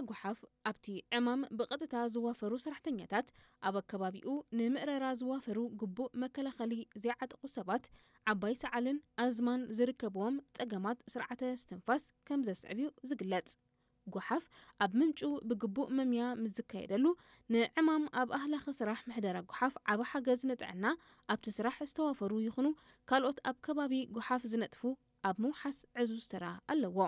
ጎሓፍ ኣብቲ ዕማም ብቐጥታ ዝዋፈሩ ሰራሕተኛታት፣ ኣብ ኣከባቢኡ ንምእረራ ዝዋፈሩ ግቡእ መከላኸሊ ዘይዓጠቑ ሰባት፣ ዓባይ ሰዓልን ኣዝማን ዝርከብዎም ጸገማት ስርዓተ ስትንፋስ ከም ዘስዕብ እዩ ዝግለጽ። ጎሓፍ ኣብ ምንጩ ብግቡእ መምያ ምስ ዝካየደሉ፣ ንዕማም ኣብ ኣህላኺ ስራሕ ምሕደራ ጎሓፍ ዓቢ ሓገዝ ንጥዕና ኣብቲ ስራሕ ዝተዋፈሩ ይኹኑ ካልኦት ኣብ ከባቢ ጎሓፍ ዝነጥፉ ኣብ ምውሓስ ዕዙዝ ተራ ኣለዎ።